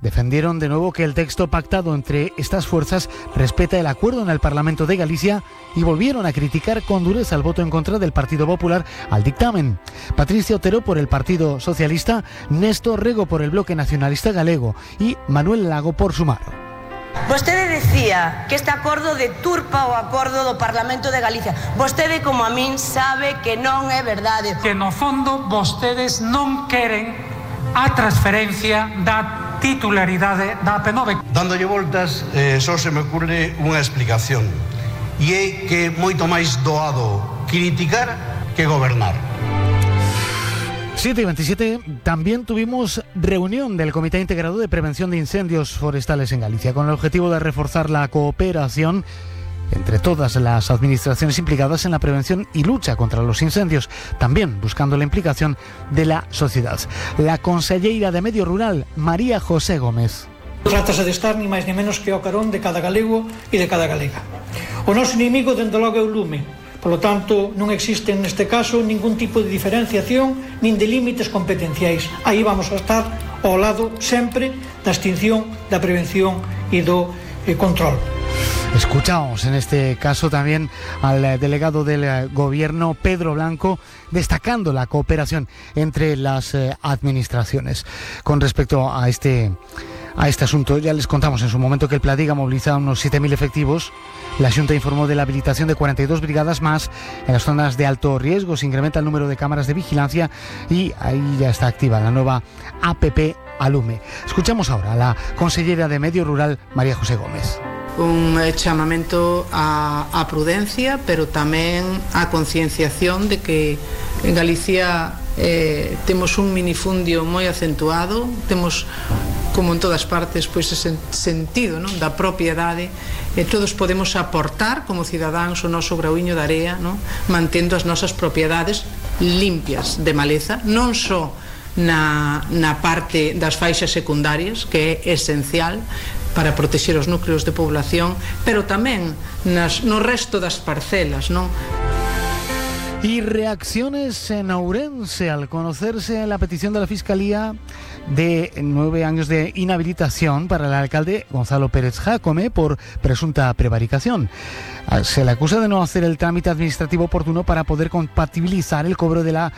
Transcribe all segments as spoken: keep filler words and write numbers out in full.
defendieron de nuevo que el texto pactado entre estas fuerzas respeta el acuerdo en el Parlamento de Galicia y volvieron a criticar con dureza el voto en contra del Partido Popular al dictamen. Patricia Otero por el Partido Socialista, Néstor Rego por el Bloque Nacionalista Galego y Manuel Lago por Sumar. Vostede decía que este acordo deturpa o acordo do Parlamento de Galicia. Vostede, como a min, sabe que non é verdade. Que no fondo vostedes non queren a transferencia da titularidade da A P nove. Dándolle voltas, eh, só se me ocurre unha explicación. E é que moito máis doado criticar que gobernar. siete y veintisiete, también tuvimos reunión del Comité Integrado de Prevención de Incendios Forestales en Galicia, con el objetivo de reforzar la cooperación entre todas las administraciones implicadas en la prevención y lucha contra los incendios, también buscando la implicación de la sociedad. La conselleira de Medio Rural, María José Gómez. Trátase de estar ni máis ni menos que ao carón de cada galego e de cada galega. O noso inimigo, dende logo, é o lume. Por lo tanto, non existe neste caso ningún tipo de diferenciación nin de límites competenciais. Aí vamos a estar ao lado sempre da extinción, da prevención e do eh, control. Escuchamos en este caso también al delegado del gobierno, Pedro Blanco, destacando la cooperación entre las eh, administraciones. Con respecto a este, a este asunto, ya les contamos en su momento que el Pladiga moviliza unos siete mil efectivos. La Xunta informó de la habilitación de cuarenta y dos brigadas más en las zonas de alto riesgo. Se incrementa el número de cámaras de vigilancia y ahí ya está activa la nueva A P P Alume. Escuchamos ahora a la consellera de Medio Rural, María José Gómez. Un chamamento a, a prudencia, pero tamén a concienciación de que en Galicia eh, temos un minifundio moi acentuado, temos, como en todas partes, pois ese sentido, non, da propiedade, e todos podemos aportar como cidadáns o noso grauiño de area, non, mantendo as nosas propiedades limpias de maleza, non só na, na parte das faixas secundarias, que é esencial para protexer os núcleos de población, pero tamén nas, no resto das parcelas, non? Y reacciones en Ourense al conocerse la petición de la Fiscalía de nueve años de inhabilitación para el alcalde Gonzalo Pérez Jácome por presunta prevaricación. Se le acusa de no hacer el trámite administrativo oportuno para poder compatibilizar el cobro de la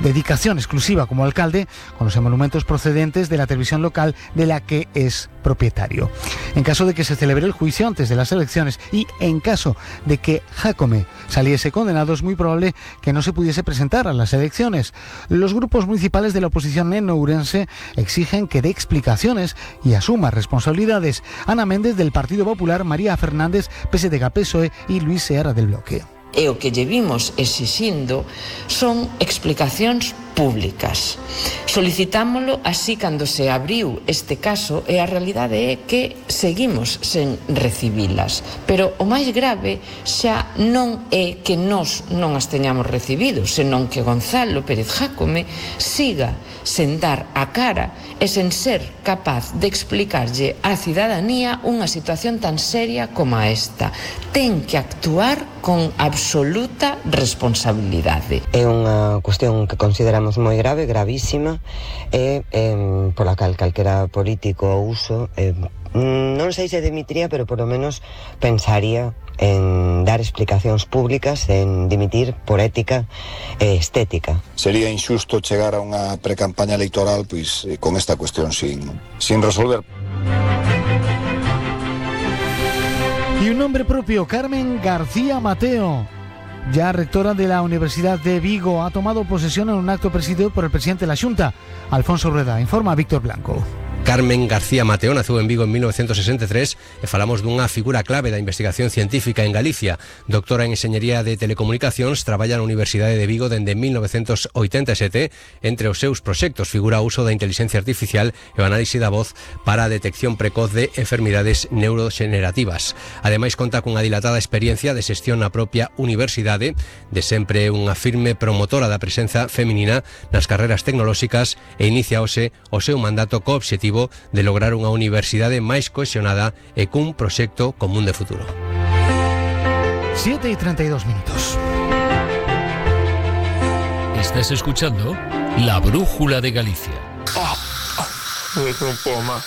dedicación exclusiva como alcalde con los emolumentos procedentes de la televisión local de la que es propietario. En caso de que se celebre el juicio antes de las elecciones y en caso de que Jácome saliese condenado, es muy probable que no se pudiese presentar a las elecciones. Los grupos municipales de la oposición en Ourense exigen que dé explicaciones y asuma responsabilidades. Ana Méndez del Partido Popular, María Fernández, P S D G, P S O E y Luis Seara del Bloque. E o que lle vimos exixindo son explicacións públicas. Solicitámolo así cando se abriu este caso e a realidade é que seguimos sen recibilas. Pero o máis grave xa non é que nós non as teñamos recibido, senón que Gonzalo Pérez Jácome siga sen dar a cara e sen ser capaz de explicarlle á cidadanía unha situación tan seria como esta. Ten que actuar con absoluta responsabilidade. É unha cuestión que consideramos moi grave, gravísima, e eh, pola cal calquera político ou uso eh, non sei se dimitiría, pero por lo menos pensaría en dar explicacións públicas, en dimitir por ética e estética. Sería injusto chegar a unha precampaña electoral pois con esta cuestión sin, sin resolver. Y un nombre propio, Carmen García Mateo, ya rectora de la Universidad de Vigo, ha tomado posesión en un acto presidido por el presidente de la Xunta, Alfonso Rueda. Informa Víctor Blanco. Carmen García Mateo naceu en Vigo en mil novecientos sesenta e tres e falamos dunha figura clave da investigación científica en Galicia. Doctora en Enxeñería de Telecomunicacións, traballa na Universidade de Vigo dende mil novecientos oitenta e sete. Entre os seus proxectos figura o uso da inteligencia artificial e o análise da voz para a detección precoz de enfermidades neuroxenerativas. Ademais, conta cunha dilatada experiencia de xestión na propia universidade, de sempre unha firme promotora da presenza feminina nas carreras tecnolóxicas e inicia hoxe o seu mandato co obxectivo de lograr unha universidade máis cohesionada e cun proxecto común de futuro. siete y treinta y dos minutos. Estás escuchando La Brújula de Galicia. Oh, oh, no puedo más.